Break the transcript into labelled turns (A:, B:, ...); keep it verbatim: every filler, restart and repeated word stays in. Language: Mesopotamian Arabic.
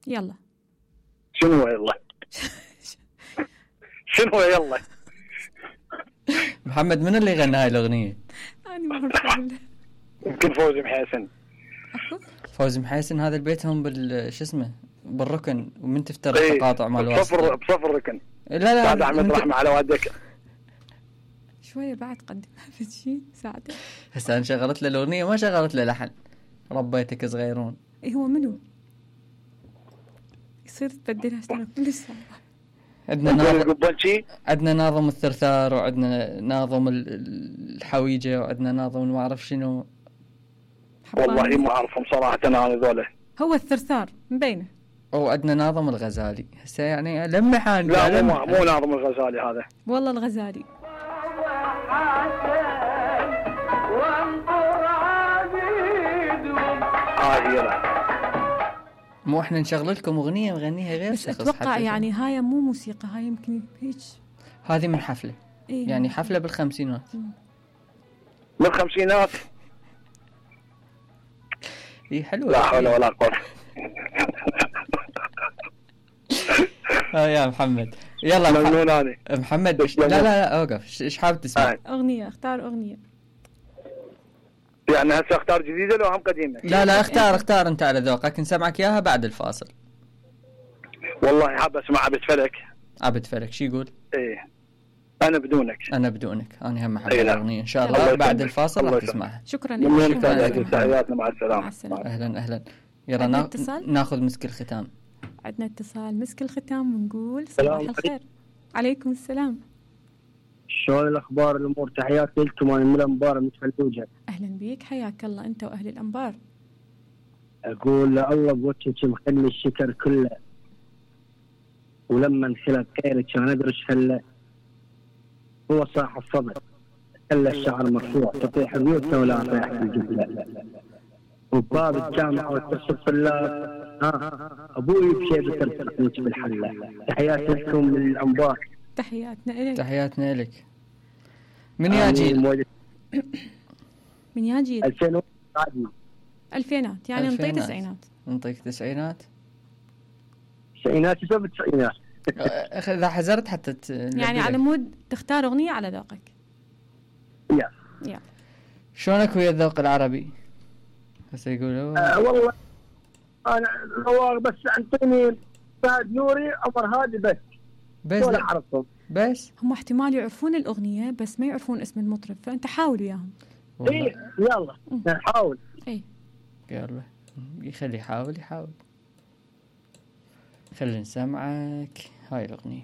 A: يلا.
B: شنو يلا؟ شنو يلا؟
C: محمد من اللي غنى هاي الأغنية؟
A: أنا ما أعرف أقول.
B: يمكن فوزي محسن.
C: فوزي محسن هذا البيت هم بال شو اسمه بالركن ومن تفتر
B: ايه
C: التقاطع مال الواسطة.
B: بصفر بصفر ركن.
C: لا لا.
B: بعد عملت رحمة على والدك.
A: شوية بعد قدم هذا الشيء ساعده.
C: هسه أنا شغلت له الأغنية ما شغلت له لحن. ربيتك صغيرون.
A: إيه هو منو؟ يصير تبدلها سنة كل سنة.
C: عندنا ناظم عندنا ناظم الثرثار وعندنا ناظم الحويجة وعندنا ناظم ما أعرف شنو.
B: والله ما أعرفهم صراحة أنا هذول.
A: هو الثرثار مبينه.
C: أو عندنا ناظم الغزالي هسه يعني لمحان.
B: لا مو مو ناظم الغزالي هذا.
A: والله الغزالي.
B: آه هي لا.
C: مو احنا نشغل لكم اغنيه نغنيها غير
A: بس اتوقع يعني هاي مو موسيقى هاي يمكن هيك.
C: هذه من حفله.
A: إيه
C: يعني حفله بالخمسينات.
B: بالخمسينات.
C: اي حلوه.
B: لا حول ولا قوه.
C: اه يا محمد يلا
B: مجنون
C: محمد. لا لا لا اوقف. ايش حابب تسمع؟
A: اغنيه اختار اغنيه.
B: يعني هسه اختار جديده لو هم قديمه؟
C: لا لا اختار اختار انت على ذوقك نسمعك اياها بعد الفاصل.
B: والله حاب اسمع عبد فلك.
C: عبد فلك شو يقول؟
B: ايه انا بدونك.
C: انا بدونك انا هم احب
B: إيه
C: الاغنيه ان شاء الله, الله بعد الفاصل راح تسمعها.
A: شكرا
B: لك. تحياتنا مع السلامه.
A: مع السلامه.
C: اهلا اهلا. يلا نا... ناخذ مسك الختام.
A: عندنا اتصال مسك الختام ونقول صباح الخير. عليكم السلام.
D: شلون الاخبار الامور؟ تحياتي لكم انا من الانبار من فلوجه.
A: اهلا بيك حياك الله انت واهل الانبار.
D: اقول الله بوجهك مخلي الشكر كله ولما انخلق خيرك كان ادرش خله هو صاحب الصبر خلى الشعر مرفوع تطيح بيوتنا ولا طيح في الجبله وباب الجامعه والتصف الطلاب ها ابوي بشيبه ترتقيك بالحله. تحياتي لكم من الانبار.
A: تحياتنا لك.
C: تحياتنا لك. من يا جيل؟
A: من يا جيل؟
D: ألفين
A: ألفينات يعني نطيق تسعينات.
C: نطيق تسعينات.
D: تسعينات يسوي التسعينات.
C: إذا حزرت حتى ت...
A: يعني على مود تختار أغنية على ذوقك.
D: يا
A: يا
C: شلونك ويا الذوق العربي؟ هسه يقولوا
D: آه والله أنا ذوق بس أنطيني فهد نوري عمر هادي بس.
C: بس
D: ولا أعرفهم.
C: بس
A: هم احتمال يعرفون الأغنية بس ما يعرفون اسم المطرب فأنت حاول وياهم.
D: إيه يلا نحاول.
A: إيه
C: يلا يخلي يحاول يحاول. خلي نسمعك هاي الأغنية.